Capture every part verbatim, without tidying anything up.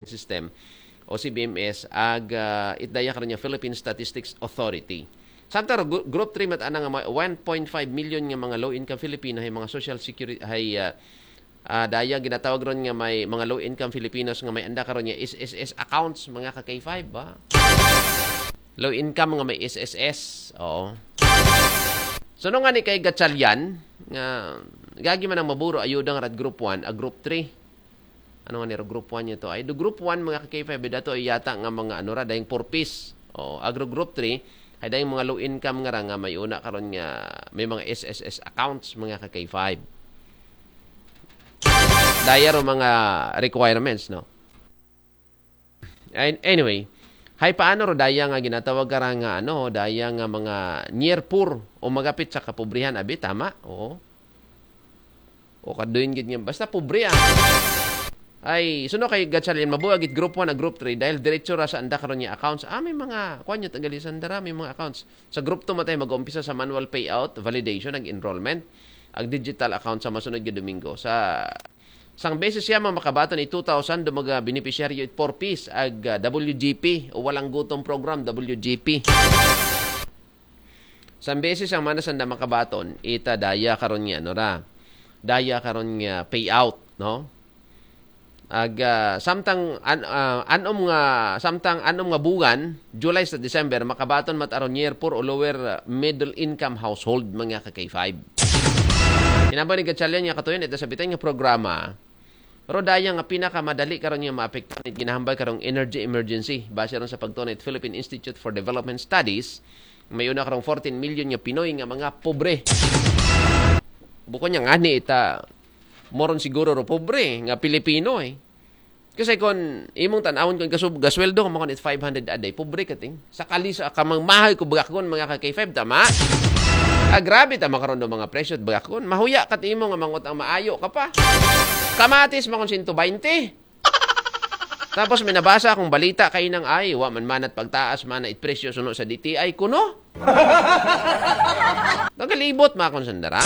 System o C B M S ag ah, it daya karon nga Philippine Statistics Authority. Samtang ro, gru- group three mat-ana nga may one point five million nga mga low income Filipino hay mga social security hay ah, ah, daya ginatawag ron nga may mga low income Filipinos nga may anda karon nga S S S accounts, mga ka K five ba? Low income nga may S S S. Oo. So no nga ni kay Gatchalian nga gagi man ang maburo ayuda nga rat group one a group three. Ano nga niro group one niya to? Ay do group one, mga ka K five, dato ay yata nga mga ano ra dayong four Ps. O agro group three ay dayong mga low income nga ra nga may una karon nga may mga S S S accounts, mga ka K five. Daya ro mga requirements, no? An- Anyway, hay paano ro daya nga ginatawag ka ra nga ano, daya nga mga near poor o magapit sa kapobrihan, abi tama? Oo. O kaduin gid nga basta pobre ah. Ay, suno kay Gatchalian mabuag it group one a group three dahil diretso ra sa anda karon nga accounts. Ah, may mga kuan niya tagali sa anda ra, may mga accounts. Sa group two matay mag-umpisa sa manual payout, validation, ag enrollment, ag digital account sa masunod nga Domingo. Sa sang beses siya mga makabaton i two thousand do mga beneficiaryo it four Ps ag ah, W G P o walang gutom program, W G P. Sang beses ang mana sanda makabaton ita daya karon nga no ra. Daya karon nga payout, no? Ag ah, samtang an, ah, anom nga samtang anom nga buwan, July sa December, makabaton mat aron year four o lower ah, middle income household, mga ka K five. Kinabang ni Gatchalian nga katuyon ito sa bitay nga programa. Ro daya nga pinakamadali karon nga maapektuhan it ginahambal karong energy emergency. Base ron sa pagtuon it Philippine Institute for Development Studies, may una karong fourteen million nga Pinoy nga mga pobre. Bukon niya ngani ita moron siguro ro pobre nga Pilipino eh. Kasi kung imong tanawon kung gasub gasweldo ka makon it five hundred a day, pobre ka ting. Sakali sa kamang mahay ko bagakon, mga ka K five, tama? Ah, grabe tama karon do mga presyo bagakon. Mahuya kat imo nga mangot ang maayo ka pa. Kamatis makon sento baynte. Tapos may nabasa akong balita kay nang ay wa man manat pagtaas man it presyo suno sa D T I kuno. Nagalibot makon sandara.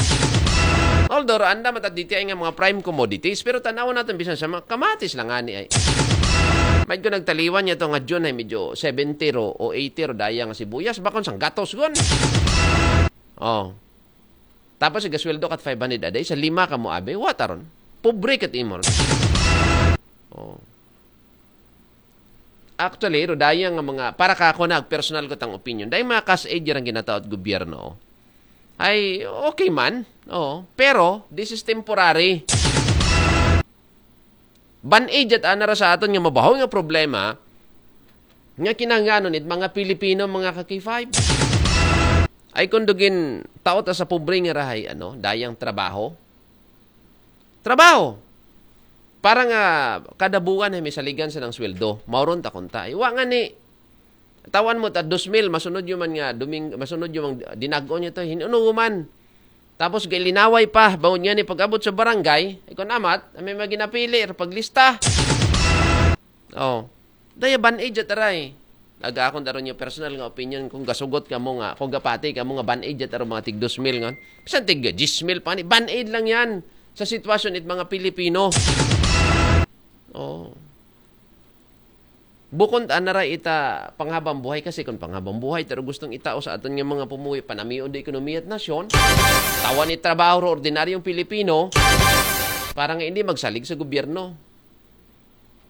Although anda man ta D T I nga mga prime commodities, pero tanaw natin bisan sa mga kamatis lang ani ay. May ko nagtaliwan niya to nga June ay medyo seventy ro o eighty ro daya nga sibuyas, bakon sang gatos gon. Oh. Tapos igasweldo kat five hundred a day, sa lima ka mo abe, wa taron. Pobre kat imor. Oh. Actually, ro daya nga mga para ka ako na personal ko tang opinion. Dahil mga kas aid ang ginataot gobyerno. Ay, okay man. Oo. Pero, this is temporary. Band-aid yat ana ra sa aton nga mabaho nga problema nga kinahanglanon it mga Pilipino, mga ka K five. Ay kung dugin taot sa pobre nga rahay, ano, dayang trabaho. Trabaho. Para nga kada buwan ay may saligan sa nang sweldo. Mauron ta kunta. Iwa nga ni tawan mo ta dos mil, masunod yung man nga duming, masunod yung mang dinag-on niya to, hinuno man. Tapos gailinaway pa, bawod nga ni pag-abot sa barangay, ay kung amat, may maginapili, paglista. Oh. Daya band-aid yat aray. Aga akong daron yung personal nga opinion kung gasugot ka mo nga, kung gapati ka mo nga band-aid yat aron mga tig dos mil ngon. Bisan tig diyes mil pa ni, band-aid lang yan sa sitwasyon it mga Pilipino. Oh. Bukon ta na ra ita panghabang buhay kasi kung panghabang buhay ta ra gustong itao sa aton nga mga pumuwi panamion do ekonomiya at nasyon, tawan ni trabaho ro ordinaryong Pilipino para nga hindi magsalig sa gobyerno.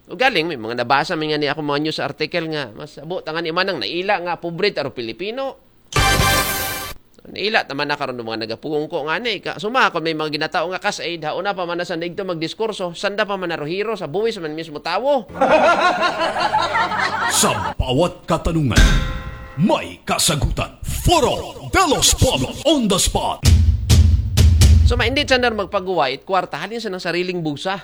O galing, may mga nabasa may nga ni ako mga news article nga mas abo tangan imanang naila nga pobre taro Pilipino. Naila taman na karon ng mga nagapungko nga ni ka suma kon may mga ginatao nga kas aid hauna pa man na sa nigto magdiskurso, sanda pa man na rohiro sa buwis man mismo tawo. Sa bawat katanungan, may kasagutan. Foro de los Pueblos on the spot. So ma hindi sa nar magpaguwait kwarta halin sa nang sariling busa.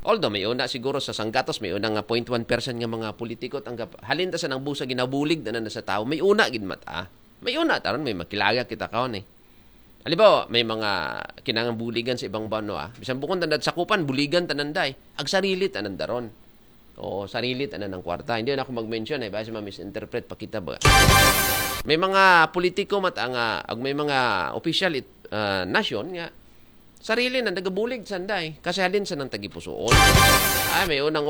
Although may una siguro sa sanggatos may una nga zero point one percent nga mga politiko tanggap halin ta sa nang busa ginabulig na na sa tao may una gid mata. May una taron may makilaga kita kaon eh. Halimbawa, may mga kinangan buligan sa ibang banwa. Bisan bukon tanda sakupan, buligan tanan day. Ag sarili tanan daron. Oo, sarili tanan ng kwarta. Hindi na ako mag-mention ay basi ma-misinterpret pa kita ba. May mga politiko mat ang ah, ag may mga opisyal it, ah, nasyon nga sarili na nagabulig sanday kasi halin sa nang tagipusuon. Ah, may unang